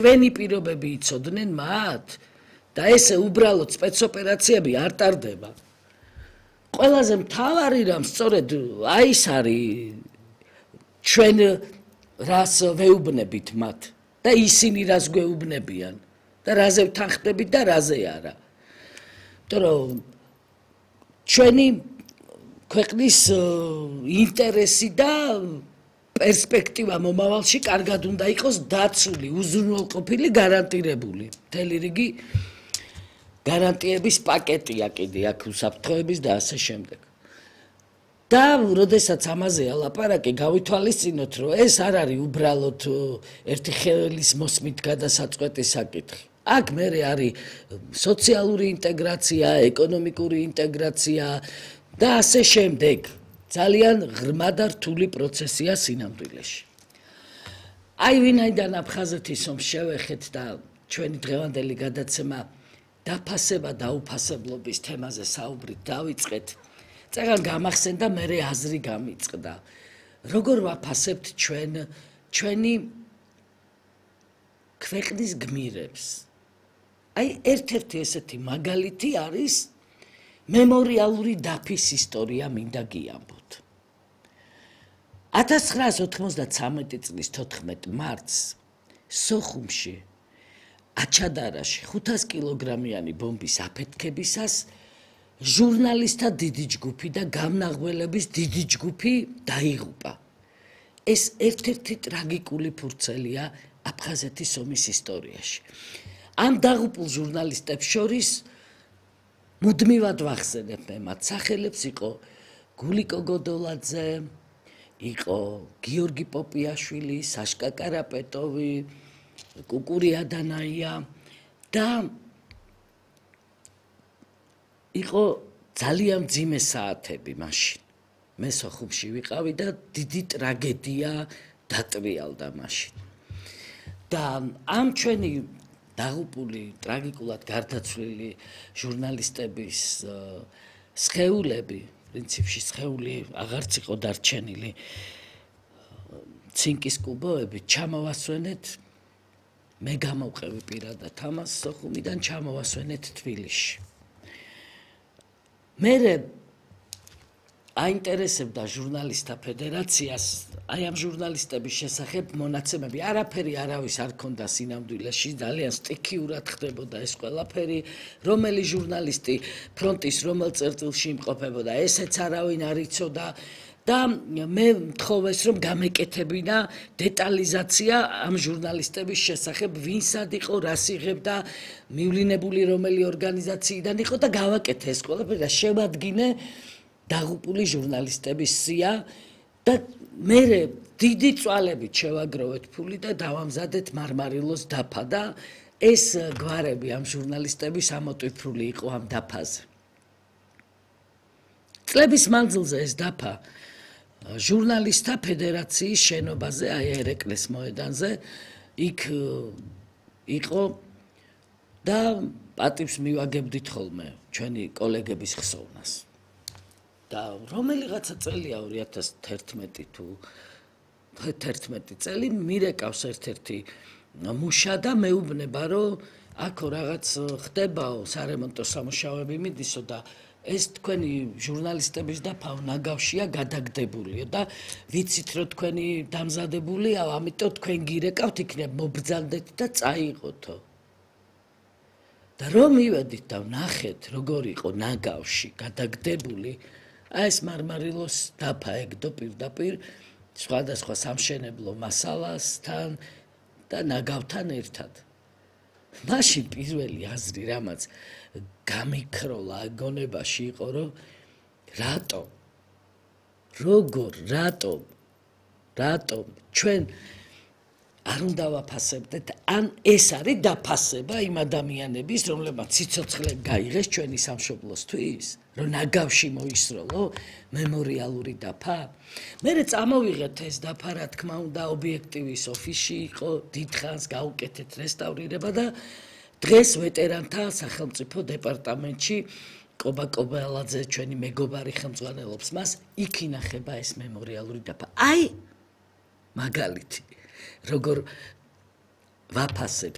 ჩვენი პირობები იცოდნენ მათ და ესე უბრალოდ სპეცოპერაციები არ ტარდება. ყველაზე მთავარი რამ სწორედ ის არის ჩვენ რას ვეუბნებით მათ და ისინი რას გვეუბნებიან და რაზე ვთანხმდებით და რაზე არა. იმიტომ რომ ჩვენი ქვეყნის ინტერესი და პერსპექტივა მომავალში კარგად უნდა იყოს დაცული, უზრუნველყოფილი, გარანტირებული. მთელი რიგი გარანტიების პაკეტია კიდე აქ უსაფრთხოების და ასე შემდეგ. და როდესაც ამაზეა ლაპარაკი, გავითვალისწინოთ, რომ ეს არ არის უბრალოდ ერთი ხელის მოსმით გადასაწყვეტი საკითხი. აქ მერე არის სოციალური ინტეგრაცია, ეკონომიკური ინტეგრაცია და ასე შემდეგ. ძალიან ღრმა და რთული პროცესია სინამდვილეში. აი ვინაიდან აფხაზეთის ომს შევეხეთ და ჩვენი დღევანდელი გადაცემა დაფასება და უფასებლობის თემაზე საუბრით დავიწყეთ, წეგან გამახსენდა მერე აზრი გამიწყდა. როგორ ვაფასებთ ჩვენი ქვეყნის გმირებს? აი ერთ-ერთი ესეთი მაგალითი არის მემორიალური დაფის ისტორია მინდა გიამბოთ. 1993 წლის 14 მარტს სოხუმში აჩადარაში 500 კილოგრამიანი ბომბის აფეთქებისას ჟურნალისტთა დიდი ჯგუფი და გამნაღველების დიდი ჯგუფი დაიღუპა. ეს ერთ-ერთი ტრაგიკული ფურცელია აფხაზეთის ომის ისტორიაში. ამ დაღუპულ ჟურნალისტებს შორის მუდმივად ვახსენებ მე მათ სახელებს, იყო გულიკო გოდოლაძე, იყო გიორგი პოპიაშვილი, საშკა კარაპეტოვი, კუკური ადანაია და იყო ძალიან მძიმე საათები მაშინ. მე სოხუმში ვიყავი და დიდი ტრაგედია დატრიალდა მაშინ. და ამ ჩვენი დაღუპული, ტრაგიკულად გარდაცვლილი ჟურნალისტების სხეულები, პრინციპში სხეული აღარც იყო დარჩენილი, ცინკის კუბოებით ჩამოვასვენეთ, მე გამოვყევი პირადად ამას სოხუმიდან ჩამოვასვენეთ თბილისში. მერე აინტერესებდა ჟურნალისტთა ფედერაციას აი ამ ჟურნალისტების შესახებ მონაცემები. არაფერი არავის არ ქონდა სინამდვილეში, ძალიან სტიქიურად ხდებოდა ეს ყველაფერი, რომელი ჟურნალისტი ფრონტის რომელ წერტილში იმყოფებოდა, ესეც არავინ არ იცოდა და მე მთხოვეს რომ გამეკეთებინა დეტალიზაცია ამ ჟურნალისტების შესახებ, ვინ სად იყო, რას იღებდა, მივლინებული რომელი ორგანიზაციიდან იყო და გავაკეთე ეს ყველაფერი და შევადგინე დაღუპული ჟურნალისტების სია და მე დიდი წვალებით შევაგროვეთ ფული და დავამზადეთ მარმარილოს დაფა და ეს გვარები ამ ჟურნალისტების ამოტვიფრული იყო ამ დაფაზე. წლების მანძილზე ეს დაფა ჟურნალისტთა ფედერაციის შენობაზე, აი ერეკლეს მოედანზე, იქ იყო და პატივს მივაგებდით ხოლმე ჩვენი კოლეგების ხსოვნას. და რომელიღაცა წელია 2011 თუ 11 წელი მირეკავს ერთ-ერთი მუშა და მეუბნება რომ აქო რაღაც ხდებაო, სარემონტო სამუშაოები მიდისო და ეს თქვენი ჟურნალისტების დაფა ნაგავშია გადაგდებულიო და ვიცით რომ თქვენი დამზადებულიაო, ამიტომ თქვენ გირეკავთ, იქნებ მობრძანდეთ და წაიღოთო. და რომ მივედით და ვნახეთ როგორ იყო ნაგავში გადაგდებული აი ეს მარმარილოს დაფა ეგდო პირდაპირ სხვადასხვა სამშენებლო მასალასთან და ნაგავთან ერთად. მაშინ პირველი აზრი რამაც გამიქროლა გონებაში იყო რომ რატომ ჩვენ არ უნდა ვაფასებდეთ, ან ეს არის დაფასება იმ ადამიანების, რომლებმაც სიცოცხლე გაიღეს ჩვენი სამშობლოსთვის, რომ ნაგავში მოისროლო მემორიალური დაფა. მერე წამოვიღეთ ეს დაფა, რა თქმა უნდა, ობიექტივის ოფისში იყო, დიდხანს გაუკეთეთ რესტავრირება და დღეს ვეტერანთა სახელმწიფო დეპარტამენტში კობა კობალაძე ჩვენი მეგობარი ხელმძღვანელობს მას, იქ ინახება ეს მემორიალური დაფა. აი მაგალითი როგორ ვაფასებთ